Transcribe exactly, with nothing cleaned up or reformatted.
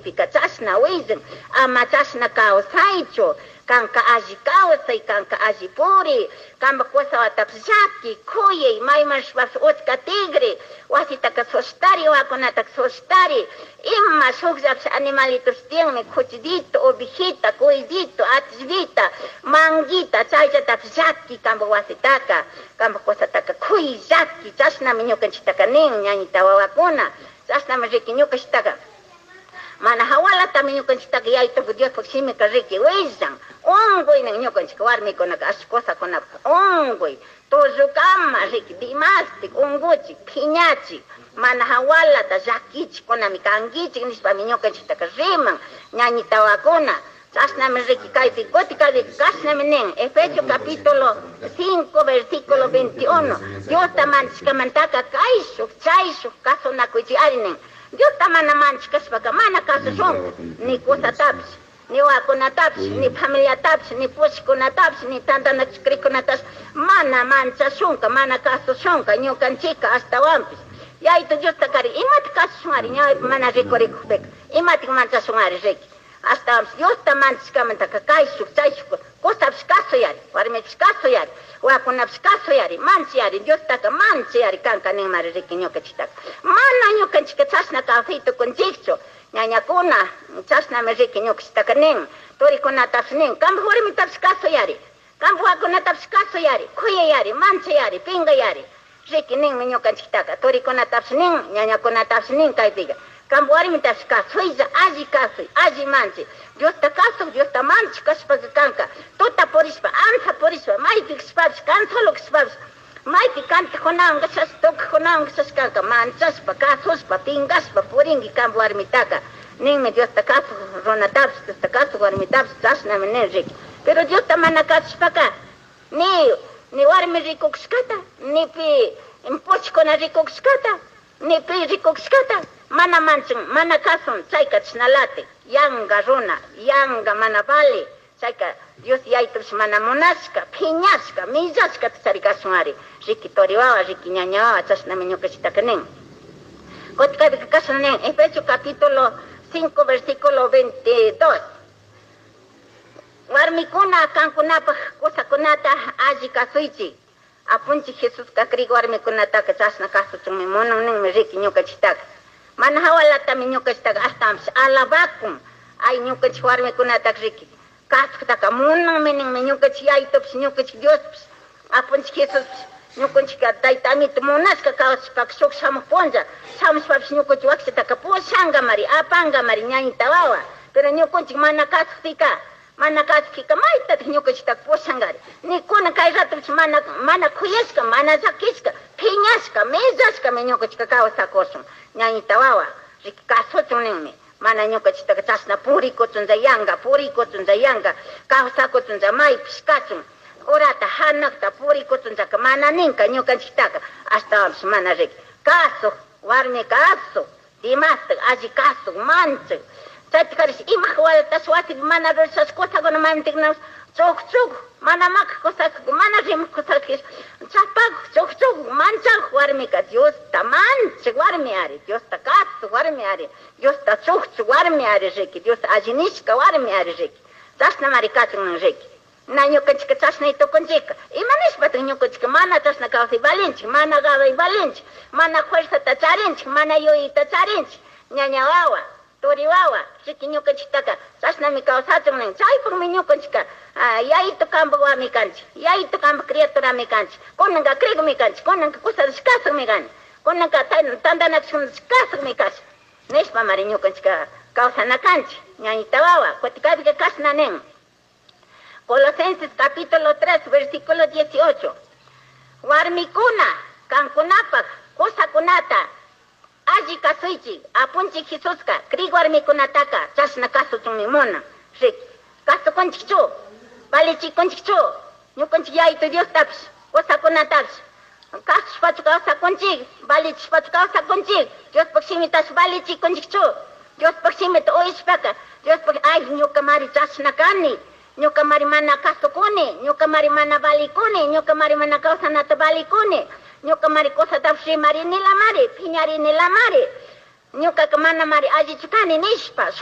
shimipika chashna willan. Ama chashna kawsaychu. Kanka alli kawsay, kanka alli puri, kampak kusawatapish llaki, kuyay, mayman rishpapish utca tigri, wasitaka soshtari, wawakunataka soshtari, ima shukllapish animalitopish tiyanmi, kuchillito, ovejita, cuyllito, atllvita, manguita, chayllatapish llaki kampak wasitaka, kampak kusataka kuy llaki, chashnami ñukanchiktaka nin ñañita wawakuna, chashnami riki ñukanchiktaka. Mana hawalatami ñukanchiktaka Yayituku Diospuk shimika riki willan, unkuynin ñukanchik warmikunaka ashta kusakunapak unkuy, tullukama riki dimastik unkuchik, piñachik, mana hawalata llakichikkunami kankichik nishpami ñukanchiktaka riman ñañita wawakuna. Chashnami riki kaypi kuti kaypi kashnami nin Efesios capítulo cinco versículo veintiuno Diosta manchashkamantaka kayshuk chayshuk kasunakuychik ari nin. Diosta mana manchashkashpaka mana kasushunka ni kusatapish, ni wawakunatapish, ni familiatapish, ni pushkunatapish, ni tantanakushkarikunatapish mana manchashunka, mana kasushunka ñukanchika ashtawanpish. Yayitu Diosta kari imata kasushun ari ñawipi mana rikurikukpika imatik manchashun ari riki. Ashtawanpish Diosta manchashkamantaka kayshuk chayshuk kusapish kasuyari, warmipish kasuyari, wawakunapish kasuyari, manchayari, Diostaka manchayari kanka ninmari riki ñukanchiktaka. Mana ñukanchika chashna kawsay tukunchikchu, ñañakuna chashnami riki ñukanchiktaka nin, turikunatapish nin, kampak warmitapish kasuyari, kampak wawakunatapish kasuyari, kuyayari, manchayari, pingayari, riki ninmi ñukanchiktaka, turikunatapish nin, ñañakunatapish nin kaypika. Kampak warmitapish kasuylla, alli kasuy, alli manchay. Diosta kasuk, Diosta manchik kashpaka kanka, tuta purishpa, ansa purishpa, maypi kashpapish, kan solo kashpapish, maypi kantakunawan kashash, tukajkunawan kashash kanka, manchashpa, kasushpa, pingashpa purinki kampak warmitaka. Ninmi Diosta kasuk runatapish, Diosta kasuk warmitapish, chashnami nin riki. Pero Diosta mana kasushpaka, ni, ni warmi rikukushkata, ni pi pushkuna rikukushkata, ni pi rikukushkata, mana manchan, mana kasun, chayka chashnalati, yanga runa, yanga mana vali, chayka Dios yayitupish mana munashka, piñashka, millashkata charikashun ari, riki turi wawa, riki ñaña wawa, chashnami ñukanchiktaka nin. Kutin kaypika kashna nin, Efesios capítulo cinco versículo veintidós. Warmikuna kankunapak kusakunata alli kasuychik. Apunchik Jesuska krik warmikunataka chashna kasuchunmi munan ninmi riki ñukanchiktaka. Mana hawalatami ñukanchiktaka ashtawanpish alabakun. Ay ñukanchik warmikunataka riki kasuktaka munanmi ninmi ñukanchik Yayitupish, ñukanchik Diospish, Apunchik Jesuspish, ñukanchikka tayta amito munashka kawsashpaka shuk shamuk punlla, shamushpapish ñukanchik wakchataka pushankamari, apankamari ñañita wawa. Pero ñukanchik mana kasukpika, mana kasukpika maytatik ñukanchiktaka pushankari. Nikuna kay ratopish mana, mana kuyashka, mana llakishka, piñashka, millashkami ñukanchikka kawsakushun. Ñañita wawa, riki kasuchun ninmi. Mana ñukanchiktaka chashna purikuchunlla yanka, purikuchunlla yanka, kawsakuchunlla maypish kachun. Urata hanakta purikuchunllaka mana ninka ñukanchiktaka, ashtawanpish mana riki. Kasuk, warmi kasuk, dimastik, alli kasuk, manchik. Chaytikarish ima waltash wasipi mana rurashash kusakuna mantiknash chukchuk, mana makak kusak, mana rimak kusakish, chapakuk, chukchuk, manchakuk warmika Diosta manchik warmi ari, Diosta kasuk warmi ari, Diosta chukchuk warmi ari riki, Diosta alli nishka warmi ari riki. Chashnamari kachun riki. Na ñukanchika chashnay tukunchika. Ima nishpatak ñukanchika mana chashna kawsay valinchik, mana gaway valinchik, mana fuerzata charinchik, mana yuyayta charinchik, ñaña wawa, turi wawa, riki ñukanchiktaka chashnami kawsachun nin. Chaypukmi ñukanchika, yayitu kampak wami kanchik, yayitu kampak criaturami kanchik, kunanka krikmi kanchik, kunanka kusatash kasukmi kanchik, kunanka tantanakushkunatash kasukmi kasha. Nishpamari ñukanchika kawsana kanchik, ñañita wawa, kutin kaypika kashna nin. Colosenses capítulo tres, versículo dieciocho. Warmikuna, kankunapak, kusakunata, alli kasuychik, apunchik Jesuska, krik warmikunataka, chashna kasuchunmi munan. Riki, kasukunchikchu, valichikunchikchu, ñukanchik Yayitu Diostapish, kusakunatapish, kasushpachu kawsakunchik, valichishpachu kawsakunchik, Diospuk shimitash valichikunchikchu, Diospuk shimita uyashpaka, Diospuk, ay, ñukamari chashna kani, ñukamari mana kasukuni, ñukamari mana valikuni, ñukamari mana kawsanata valikuni, ñukamari kusatapish rimarinilamari, piñarinilamari, ñukaka manamari allichu kani nishpa,